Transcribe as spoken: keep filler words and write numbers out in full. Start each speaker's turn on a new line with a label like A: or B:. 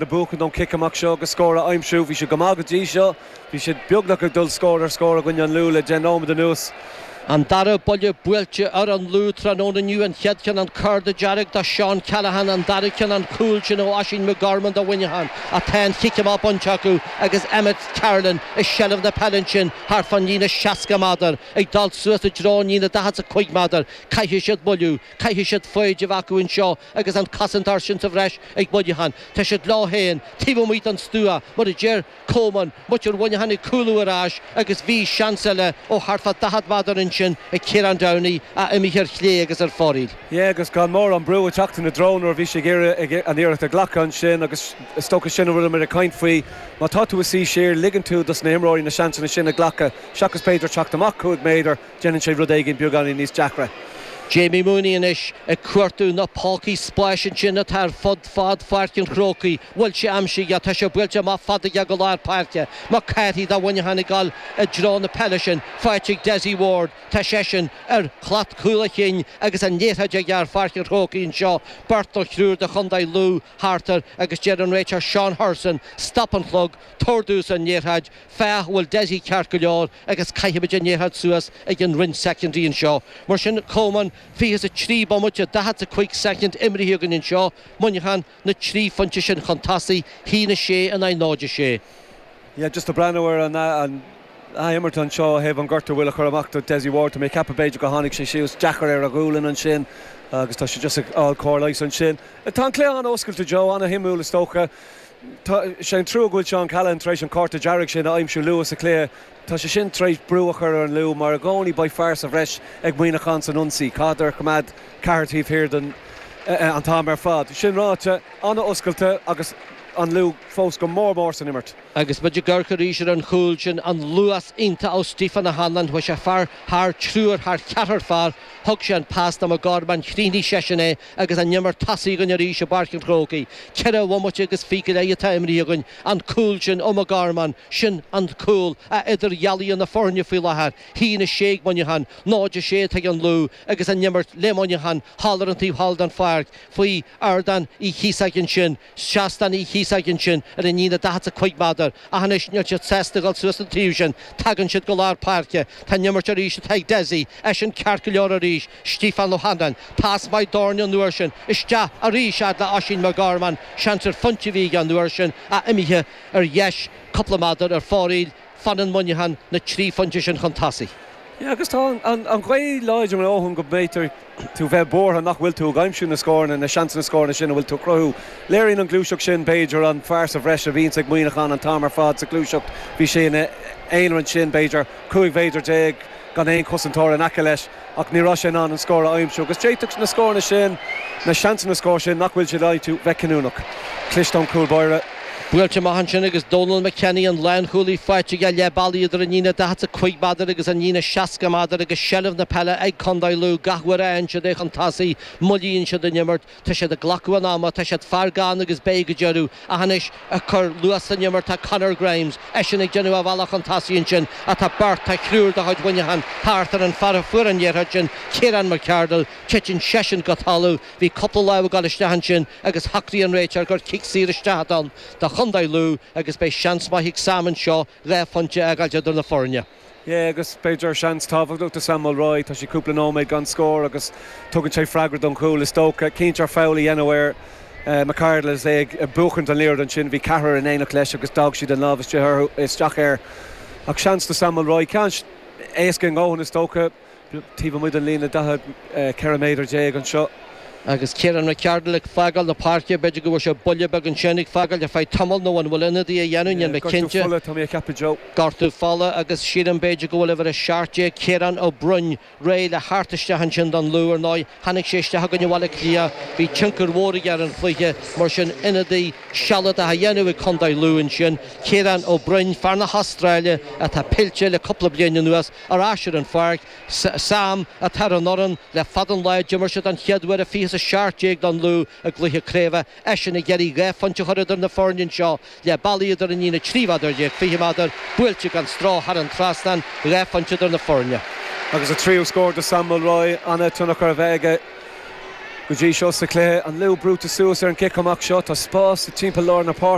A: Le buachan ón cic amach seo agus scór a aimsiú, bhí siad go maith go dtí seo, bhí siad beagnach ag dul scór ar scór i gcoinne an Lú le deich nóiméad anuas.
B: An dara buille buailte ar an Lú tráthnóna inniu, an chéad cheann an cárta dearg do Seán Callahan, an dara ceann an cúl sin ó Oisín McGorman do Mhuineachán. Ach tá an chic amach bainte acu agus Emmet Carolan i seilbh na peile ansin thart fán líne seasca méadar, ag dul suas i dtreo an líne daichead is a cúig méadar. Caithfidh siad moilliú, caithfidh siad foighid a bheith acu anseo agus an cosantóir sin sa bhreis ag Muineachán. Tá siad leo féin taobh amuigh den stua, mar a deir Coleman, muintir Mhuineacháin ag cúlú ar ais agus bhí seans eile ó thart fá daichead méadar ansin ag Ciarán Downey ach imithe ar chlé agus ar fóraoil.
A: Yeah, agus gan mórán brú ag teacht ina dtreo nuair a bhí sé ag iarraidh an iarracht a ghlacadh ansin agus is dócha sin a bhfuil muid ag caint faoi, má tá tú ag suí siar, ligeann tú dos na himreoirí na seansanna sin a ghlacadh seachas b'fhéidir teacht amach cúig méadar, déanann sé rud éigin beagáinín níos deacra.
B: Jamie Mooney anois ag cuartú na pócaí spáis ansin atá ar fud fad Pháirc an Chrócaigh. Bhfuil sé aimsithe aige? Tá sé buailte amach fada aige go lár páirce. McCarthy do Mhuineachán ag dul i dtreo na peile sin. Faighte ag Dessie Ward. Tá seisean ar shlat chúl a chinn agus an liathróid aige ar Pháirc an Chrócaigh anseo. Beirt nó triúr de chontae Lú thart air agus deir an réiteoir Seán Hurson, Stop an clog, tabhair domhsa an liathróid. Féach an bhfuil Dessie ceart go leor agus caithfimid an liathróid suas ag an roinn secondary anseo. Mar sin, Coleman, fiche is a trí bomaite, daichead is a cúig soicind imrithe againn anseo, Muineachán, na trí phointe sin chun tosaigh, haon a sé in aghaidh náid a sé.
A: Yeah, just ag breathnú ar an an athimirt anseo ó thaobh an gortú a bhfuil a chur amach do Dessie Ward, tá mé ag ceapadh b'fhéidir gur tháinig sé síos deacair ar a ghualainn ansin agus tá sé just ag fháil cóir leighis ansin. Tá an cluiche an-oscailte, Joe, an-shuimiúil is dócha. Tá sé an trua go bhfuil Seán Callahan tar éis an cárta dearg sin a aimsiú luath sa chluiche. Tá sé sin tar éis brú a chur ar an Lú mar i gcónaí beidh fear sa bhreis ag Muineachán san ionsaí. Caithfidh coimeád ceathair taobh thiar den an t-am ar fad. Sin ráite, an-oscailte agus an Lú fós go mór mór san imirt.
B: Agus muid ag amharc arís ar an chúl sin, an luas iontach ó Stephen O'Hanlon, chuaigh sé fear thar triúr, thar cheathrar fear, thug sé an pas do McGorman, chríochnaigh seisean é agus an imirt tosaithe againn arís i bPáirc an Chrócaigh. Ceithre bhomaite agus fiche go leith atá imrithe againn, an cúl sin ó McGorman, sin an cúl a idirdhealaíonn na foirne faoi láthair. haon a sé ag Muineachán, náid a sé atá ag an Lú agus an imirt le Muineachán thall ar an taobh thall den pháirc faoi Ardán Uí Chíosóg ansin, Seastán Uí Chíosóg ansin ar an líne daichead is a cúig méadar. Ach anois níl siad sásta a dhul suas an taobh sin. Tagann siad go lár páirce. Tá an imirt arís atá ag Dessie. Eisean ceart go leor arís. Stiofán O'Hanlon. Pas maith d'fhoirne an uair sin. Isteach arís fhad le Oisín McGorman. Seans ar phointe a bhí aige an uair sin ach imithe ar dheis cúpla méadar ar fóraoil. Fanann Muineachán na trí phointe sin chun tosaigh.
A: Yeah, agus tá an ghaoth láidir a ndóthain go mb'fhéidir tú bheith buartha nach bhfuil tú ag aimsiú na scóranna, na seansanna scóranna sin a bhfuil tú ag cruthú. Léiríonn an ghluaiseacht sin, b'fhéidir, an fear sa bhreis a bhíonns ag Muineachán an t-am ar fad sa ghluaiseacht. Bhí sé ina aonar ansin, b'fhéidir, cúig mhéadar déag gan aon chosantóir in aice leis ach ní raibh sé in ann an scór a aimsiú. Agus d'fhéadfadh na scóranna sin, na seansanna scór sin nach bhfuil siad ag aimsiú bheith cinniúnach. Cliste ón gcúl báire.
B: Buailte amach ansin agus Dónal McKenny, an lánchúlaí, faighte aige leath bealaigh idir an líne daichead is a cúig méadar agus an líne seasca méadar agus seilbh na peile ag Contae Lú gach uair a fhaigheann siad é chun tosaigh, moillíonn siad an imirt, tá siad ag glacadh an ama, tá siad fear gann agus beidh go deireadh. Ach anois ag cur luas san imirt tá Conor Grimes, eisean ag déanamh a bhealach chun tosaigh ansin ach tá beirt, tá triúr de chuid Mhuineacháin thart ar an fear a fuair an liathróid sin, Ciarán McCardle, titeann seisean go talamh. Bhí cúpla lámh ag dul isteach ansin agus shocraigh an réiteoir gur cic saor isteach atá ann do chontae Lú agus beidh seans maith ag Sam anseo dhá phointe a fhágáilt idir na foirne.
A: Yeah, agus b'fhéidir seans tábhachtach do Sam Mulroy, tá sé cúpla nóiméad gan scór agus tugann sé freagra don chúl is dócha. Cinnte ar foul a dhéanamh ar McCardle is é ag buachaint an liathróid ansin, bhí ceathrar in éineacht leis agus d'fhág siad an lámh isteach air. Ach seans do Sam Mulroy, ceann éasca a ndóthain is dócha. Taobh amuigh den líne daichead, ceithre méadar déag anseo.
B: Agus Ciarán McCardle ag fágáil na páirce, b'fhéidir go bhfuair sé buille beag ansin ag fágáil ar feadh tamaill nó an bhfuil ionadaí á dhéanamh, níl mé cinnte.
A: Gortú fola, tá mé ag ceapadh, Joe.
B: Gortú fola agus sílim b'fhéidir go bhfuil uimhir a seacht déag, Ciarán Ó Broin, réidh le theacht isteach ansin don Lú. Ar ndóigh, tháinig sé isteach i gcoinne Bhaile Átha Cliath, bhí tionchar mhór aige ar an chluiche, mar sin ionadaí sealadach á dhéanamh ag contae Lú ansin. Ciarán Ó Broin, fear na hAstráile atá pillte le cúpla bliain anuas, ar ais ar an pháirc. Sam atá ar an fhoireann le fada an lá, d'imir sé don chéad uair i fiche is a seacht déag don Lú i gcluiche craoibhe, eisean ag iarraidh dhá phointe a chur idir na foirne anseo leath bealaigh idir an líne trí mhéadar déag, fiche méadar, buailte gan stró thar an trasnán, dhá phointe idir na foirne.
A: Agus a tríú scór do Sam Mulroy, an-tionchar a bheith aige. Go dtí seo sa chluiche an Lú brúite suas ar an gcic amach seo tá spás timpeall lár na páirce.